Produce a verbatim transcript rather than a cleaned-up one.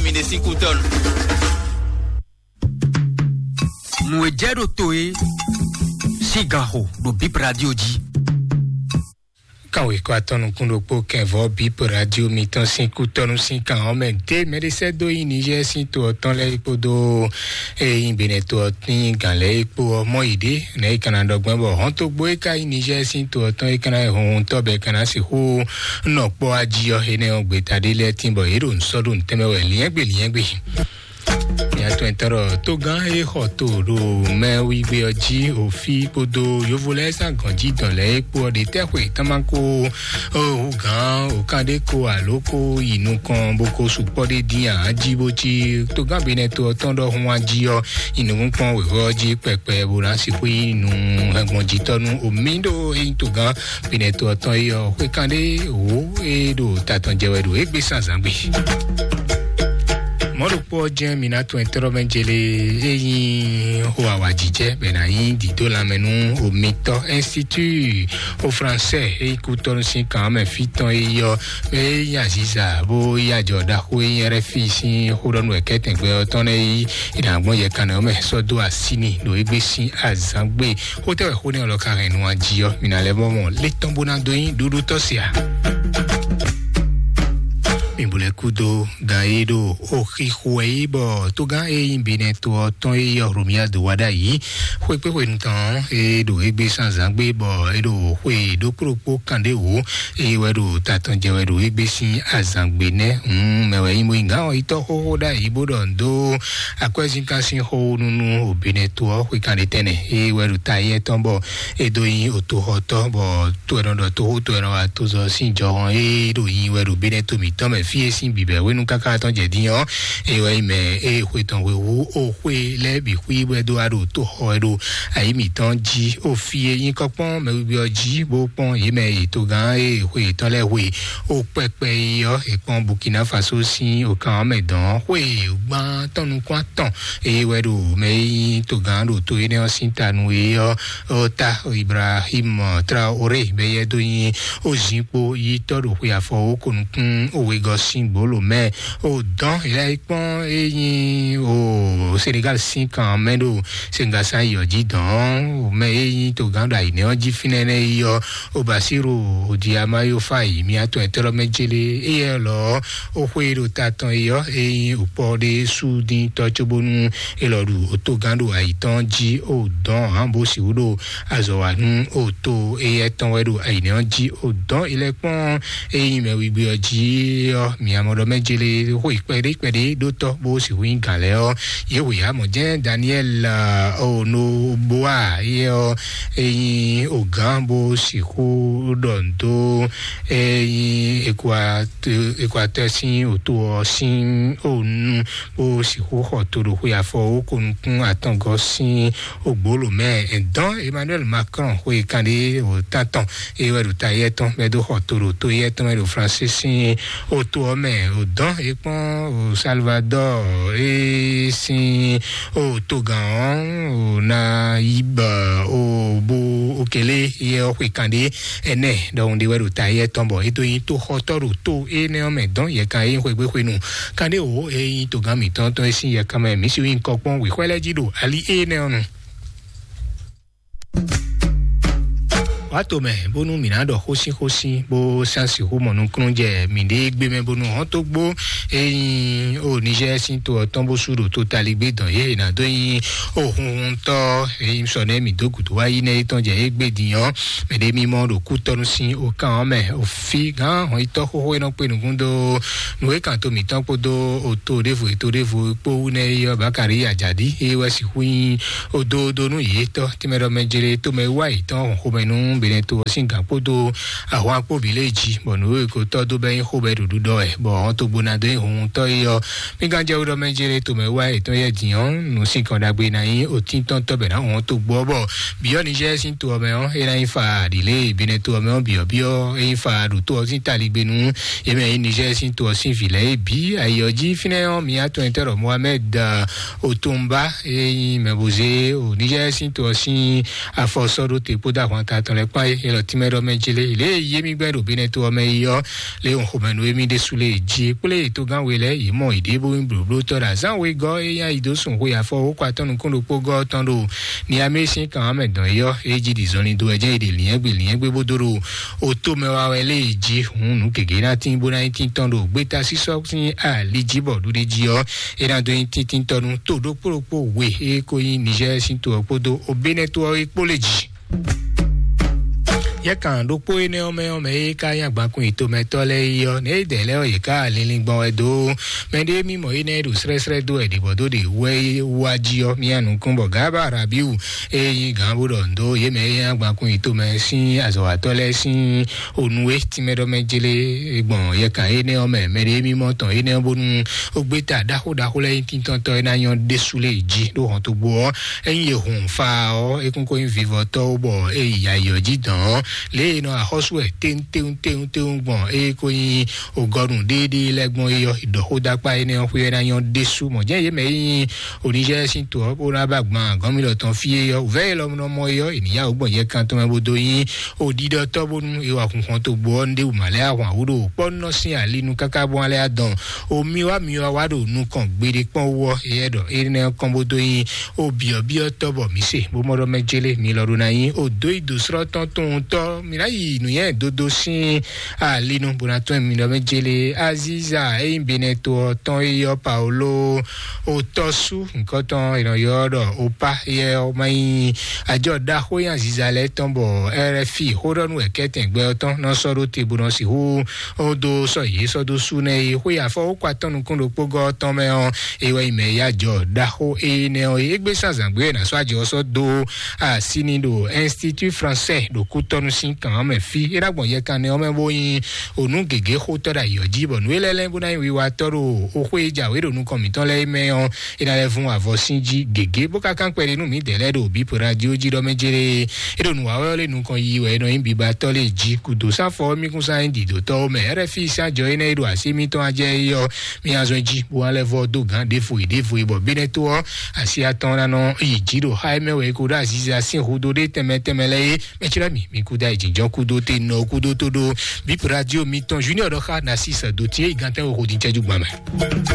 Mi ɖe sín kútɔ́nu. Nǔ e jɛ ɖo to e sín gan xo ɖo Bip Radio jí. Kan wěkɔ atɔ́ nukún ɖokpó kɛnvɔ Bip Radio mitɔn sín kútɔ́nu sín kan ɔ́ mɛ dé mɛɖé sɛ́ dó nyi Niger sín to ɔ́ tɔn lɛ́ɛ kpódó eye nyi Benɛ to ɔ́ sín gǎn lɛ́ɛ kpó ɔ́ mɔ yě ɖé nɛ̌ é ka ná ɖɔ gbɔn bɔ hɔntogbó e ka nyí Niger sín to ɔ́ tɔn é ka ná nyí hunhuntɔ́ bɔ é ka ná sixú nɔ kpɔ́ ají ɔ́ énɛ́ ɔ́ gbeta ɖé lɛ́ɛ tín bɔ yě ɖo nǔ sɔ́ ɖo nǔ tɛnmɛ wɛ liɛ́ngbé liɛ́ngbé. Nyatɔn tɔn ɖɔ tógán e xɔ to ɖo mɛ wígbé ɔ́ jí òfí kpódó yovo lɛ́ɛ sín agɔ̌njí dɔn lɛ́ɛ é kpó ɔ́ ɖe tɛ́ xwe tán ma ko hú gǎn òkán ɖé ko alo ko yi nukɔn bó ko sukpɔ́ ɖé dín ǎ jí bó cí tógán Benɛ to ɔ́ tɔn ɖɔhun wá jí ɔ́ yi nukúnkpɔ́n wěwé ɔ́ jí kpɛkpɛ bó ná sixú yi nu hɛngbɔnjitɔ́ nú omi ɖó é nyí tógán Benɛ to ɔ́ tɔn é ɔ́ xwékan ɖé wǒ é ɖo ta tɔn jɛ wɛ ɖo égbé sín azǎngbe. Mɔ̌ ɖokpó ɔ́ jɛ́n mi ná tun ɛtɛ́ɖɔmɛ jele e nyí xo awǎjijɛ bɔ è nǎ nyí dǐdó lanmɛ nú omitɔ́ Institut o Français e nyí kútɔ́ nú sín kan ɔ́ mɛ fí tɔn e yí ɔ́, mɛ e nyí aziza bó yí ajɔ ɖaxó e nyí R F I sín xóɖɔ́nú wɛ kɛ́tɛn gbɛ ɔ́ tɔn lɛ́ɛ yí è nǎ gbɔn yɛ kannɛ ɔ́ mɛ sɔ́ dó así n'i ɖo égbé sín azǎngbe. Xótɛ́ wɛ xó nɛ́ ɔ́ lɔ ka hɛn nu ají ɔ́, mǐ ná lɛ́ vɔ́ mɔ lé tɔn bó ná dó nyí ɖuɖu tɔ́ se a? Mi bu lɛ́ kú dó gan e ɖo oxixo wɛ yí bɔ tógán e nyí Benɛ to ɔ́ tɔn e yí ɔ́ Romia do wá ɖ'ayǐ. Xwekpéxwenu tɔn e ɖo égbé sín azǎngbe bɔ é ɖo xwe ɖokpó ɖokpó kanɖéwǒ e wɛ ɖo ta tɔn jɛ wɛ ɖo égbé sín azǎngbe nɛ́. Hǔn mɛ wɛ nyí mɔyíngán ɔ́ yi tɔ́ xóxó ɖ'ayǐ bó ɖɔ un dó akwɛ́zínkan sín xó nú nú Benɛ to ɔ́ xwe kanɖétɛ́nɛ e wɛ ɖo ta yɛ tɔn bɔ é dó nyí otoxɔtɔ́ bɔ to ɛ nɔ ɖɔ toxó to ɛ nɔ wa tozɔ sín jɔhɔn e ɖo nyi wɛ ɖo Benɛ to mǐtɔn mɛ fí e sín bǐbɛ́ hwenu káká tɔn jɛ dín ɔ́, e wɛ nyí mɛ e xwe tɔn hwe hú o xwe lɛ́ɛ bǐ xwí bɔ é dó wá ɖo toxɔ ɛ ɖo ayi mǐtɔn jí o fí e nyí kɔ́kpɔ́n mɛ wiwi ɔ́ jí bó kpɔ́n yě mɛ yi togán e xwe yětɔn lɛ́ɛ hwe o kpɛkpɛ yi ɔ́, è kpɔ́n Burkina Faso sín o kan ɔ́ mɛ dɔn xwe gbán tɔn nukún atɔn eye wɛ ɖo mɛ e nyí togán ɖo to énɛ́ ɔ́ sín ta nu e ɔ́, ó ta Ibrahim Traoré bɛ yɛ dó nyi ó zin kpo yi tɔ́ ɖo xwe afɔ ó ko nukún ó wegɔ́ sín gbolo mɛ ó dɔn ìlà yi kpɔ́n é nyi ó Senegal sín kan mɛ ɖo sengasa yi ɔ́ jí dɔn mɛ é nyi togán ɖo ayǐnɛ ɔ́ jí fínɛ́ nɛ́ yi ɔ́ ó Basiru ó di amáyófá yi mí atɔn ɛtɛ́ lɔ mɛ jélé éyɛ lɔ ó xwé ɖo ta tɔn yi ɔ́ é nyi òkpɔ ɖé sú dín tɔ́ cóbónú é lɔ ɖu òtógán ɖo ayǐ tɔn jí ó dɔn hǎn bó sixú ɖo azɔ̌ wa nú ó tó éyɛ tɔn wɛ ɖo ayǐnɛ ɔ́ jí ó dɔn ilɛkpɔ́n é nyí mɛ wigbe ɔ́ jí ɔ́, mǐ amɔ ɖɔ mɛ jele xó yi kpɛɖé kpɛɖé ɖó tɔ́ bó sixú nyí gǎn lɛ́ɛ ɔ́, yě hu yǎ mɔ jɛ́n Daniel Onoboa yɛ ɔ́, é nyí ogǎn bó sixú ɖɔ nǔ dó é nyí Ekwatɛ sín òto ɔ́ sín ònu bó sixú xɔ to ɖo xwe afɔ ó ko nukún atɔngɔ́ sín ogbolo mɛ. Dɔn Emmanuel Macron xwe kanɖé o tantɔn e wɛ ɖo ta yɛ tɔn mɛ dó xɔ to ɖo to yɛ tɔn mɛ ɖo Fransi sín o to ɔ́ mɛ o dɔn e kpɔn o Salvador e sín o togán ɔ́ o na yi bɔ o bo o kele yɛ ɔ́ xwe kanɖé ɛnɛ ɖɔhun ɖé wɛ ɖo ta yɛ tɔn bɔ e dó nyi toxɔtɔ́ ɖo to énɛ́ ɔ́ mɛ dɔn yɛ kan e nyí xwegbe xwenu kanɖé o e nyí togán mǐtɔn tɔn e sín yɛ kan mɛ mǐ si nyí kɔkpɔn wěxwɛ lɛ́ɛ jí ɖo ali énɛ́ ɔ́ nu. Wá to mɛ bónú mǐ ná ɖɔ xósínxósín bó sán sixú mɔ nukúnnú jɛ mǐɖée gbé mɛ bónú hɔ́ntó gbó e nyí o Niger sín to ɔ́ tɔn bó sú ɖo totaligbé dɔn yě è nǎ dó nyí o hunhuntɔ́ e nyí sɔ nɛ́ mǐ dó gǔdo wá yí nɛ́ é tɔn jɛ égbé din ɔ́, mɛ ɖé mímɔ ɖo kútɔ́nú sín okán ɔ́ mɛ. Òfin gán hɔnyitɔ́ xóxó e nɔ kpé nukún dó nǔ e kan to mǐtɔn kpódó oto ɖěvo e to ɖěvo kpó wú nɛ́ é ɔ́, Bakari Ajadi é wɛ sixú nyí ododonu yětɔn tínmɛ ɖɔ mɛ jlé tomɛ wá yětɔn xomɛ nú Benɛto ɔ́ sín gǎn kpódó ahwan kpó bǐ lé jí, bɔ nǔ e ko tɔ́ dó bɛ́ nyí xó bɛ́ ɖo ɖuɖɔ wɛ, bɔ hɔn togbo ná dó nyí hunhuntɔ́ é ɔ́, mí gán jɛ wé ɖɔ mɛ jlé tomɛ wá yětɔn yɛ din ɔ́, nǔ sinkɔn ɖagbe ná nyí otíntɔ́ntɔ́ bɛ ná hɔn togbo ɔ́, bɔ bǐ ɔ́ Nizɛ́ɛ sín to ɔ́ mɛ ɔ́, é ná nyí fa ɖǐlé Benɛto ɔ́ mɛ ɔ́ bǐ ɔ́ bǐ ɔ́ é nyí fa ɖo to ɔ́ sín taligbenu yě mɛ nyí Nizɛ́ɛ sín to ɔ́ sín vǐ lɛ́ɛ é bǐ. Ayǐ ɔ́ jí fínɛ́ ɔ́, mǐ atɔn nyitɔ́ ɖɔ Mohamed Otonba e nyí mɛ bo zé o Nizɛ́ɛ sín to ɔ́ sín afɔ sɔ́ ɖó te kpódó ahwanta tɔn lɛ́ɛ Kpɔ́n é, elɔ tínmɛ ɖɔ mɛ jí lé, lě e yé mì gbɛ́ ɖo Benɛto ɔ́ mɛ yi ɔ́, lě e un xomɛ nú émí ɖésú lé jí kplé togán we lɛ́ɛ, yě mɔ yěɖée bó nyí blǒblótɔ́ ɖo azǎn wegɔ́ é nyí ayi dó sun xwe afɔ wókɔ atɔ́ nukún ɖokpó gɔ́ tɔn ɖo Niamé sín kan ɔ́ mɛ dɔn é ɔ́, é jí ɖi zɔnlin dó wɛ jɛ́n è ɖe lǐnyɛ́gbe lǐnyɛ́gbe bó dó ɖo oto mɛ wa wɛ lé jí hǔn nǔ gěgé ná tín bó ná nyí tíntɔ́n ɖo gbéta sísɔ́ sín ali jí bɔ ɖuɖé jí ɔ́, é ná dó nyí tíntíntɔ́ nú to ɖokpó ɖokpó we é ko nyí Nizɛ́ɛ sín to ɔ́ kpódó Benɛto ɔ́ é kpó lé jí. Yɛ kan ɖokpó énɛ́ ɔ́ mɛ ɔ́ mɛ é ka nyí agbankun yětɔ́mɛtɔ́ lɛ́ɛ é ɔ́, nɛ̌ é dɛ lɛ́ɛ ɔ́ yě ká linlin gbɔn wɛ dó mɛɖé mímɔ énɛ́ ɖo srɛ́srɛ́ dó wɛ ɖě bɔ dó ɖě wɛ é wá jí ɔ́, mía nukún bɔ Gaba Rabiu é nyí gǎn bó ɖɔ ndo yě mɛ é nyí agbankun yětɔ́mɛ sín azɔ̌watɔ́ lɛ́ɛ sín onu é tínmɛ ɖɔ mɛ jélé gbɔn yɛ kan énɛ́ ɔ́ mɛ mɛɖé mímɔ tɔn énɛ́ ɔ́ bónú ó gbé ta ɖaxó ɖaxó lɛ́ɛ nyí tíntɔ́ntɔ́ é ná nyɔ́ ɖésú lé jí ɖó hɔn tó gbó ɔ́. Ényí è hun fa ɔ́, é kún ko nyí vivɔtɔ́ ó bɔ é yi ayɔ jí dɔn ɔ́, lě e è nɔ axɔ́sú wɛ téwúntéwúntéwúntéwún gbɔn é ko nyí ògɔnu ɖéeɖée lɛ́ɛ gbɔn é ɔ́, è ɖɔ xó dó akpá énɛ́ ɔ́ xwé ɔ́ ná nyɔ́ ɖésú. Mɔ̌ jɛ́n yě mɛ e nyí Onizɛ́ɛ sín to ɔ́ bó ná ba gbɔn gɔ́nmilɔ tɔn fí é ɔ́, wǔvɛ́ élɔ́ nɔ mɔ é ɔ́, è nǐ yá wǔ gbɔn yɛ kan tɔn mɛ bó dó nyí òɖiɖɔtɔ́ bónú è wa xunxɔn tó gbó ɔ́, nú ɖé wǔ ma lɛ́ ahwan wú ɖo kpɔ́ nɔ sín ali nu káká bó ná lɛ́ adɔn. Omi wá mi wá wá ɖo nukɔn gbeɖé kpɔ́n wú ɔ́, éyɛ́ ɖɔ énɛ́ ɔ́ kɔn bó dó nyí ó byɔ̌byɔ́tɔ́ bɔ mǐ se bó mɔ ɖɔ mɛ jélé mi lɔ ɖó ná nyí ó dó yi dǒ srɔ́ tɔn towun tɔ́ mǐ ná yi nǔnywɛ́ dodo sín ali nu bó ná tɔ́n mi ɖɔ mɛ jélé Aziza é nyí Benɛto ɔ́ tɔn é yɔ́ Paolo ó tɔ́ sú nǔkɔntɔn è nɔ ylɔ́ ɖɔ Opa yɛ ɔ́ má nyí ajɔ ɖaxó nyi Aziza lɛ́ɛ tɔn bɔ R F I xó ɖɔ nú wɛ kɛ́tɛn gbɛ ɔ́ tɔn nɔ sɔ́ ɖó te bó nɔ sixú ó dó sɔ́ yě sɔ́ dó sú nɛ́ é xwé afɔ ó kɔ atɔ́ nukún ɖokpó gɔ́ tɔn mɛ ɔ́, é wɛ nyí mɛ ya jɔ ɖaxó énɛ́ ɔ́ é gbé sán zǎngbé ná sɔ́ ajɔ ɔ́ sɔ́ dó así ní ɖo Institut Français ɖo kútɔ́nú sín kan ɔ́ mɛ fí é ná gbɔn yɛkan nɛ ɔ́ mɛ bó nyí ònú gěgé xótɔ́ ɖo ayǐ ɔ́ jí bɔ nǔ é lɛ́ɛ lɛ́ɛ bó ná nyí wiwatɔ́ ɖo xó xwé e jǎwe ɖo nukɔn mǐtɔn lɛ́ɛ mɛ ɔ́, é ná lɛ́ vún avɔ sín jí gěgé bó ka kán kpɛɖé nú mǐdɛɛ lɛ́ɛ ɖo bǐ radio jí ɖɔ mɛ jéré. É ɖo nǔ wa wɛ ɔ́ lé nukɔn yiyi wɛ é nɔ nyí bibatɔ́ lé jí kúdó sáfɔ ɔ́ mí kún sán nyí dǐdótɔ́ ó mɛ R F I sín ajɔ énɛ́ e ɖo así émítɔn ajɛ é ɔ́, mí azɔn jí bó wá lɛ́ vɔ dó gǎn ɖěvo yi ɖěvo yi bɔ Benɛto ɔ́ así atɔn ná nɔ yi jí ɖo xá émɛ wɛ é ko ɖó aziza sín hudo ɖé tɛnmɛ tɛnmɛ lɛ́ɛ é. Mɛtírá mi mi kú dá ìjìnjɔ́n kúdó te nɔ kúdó tó ɖó bíp radio mitɔn Junior ɖɔ xá Narcisse dó tí é yi gantɛ́ wo xodíncɛ́jú gbɔn mɛ.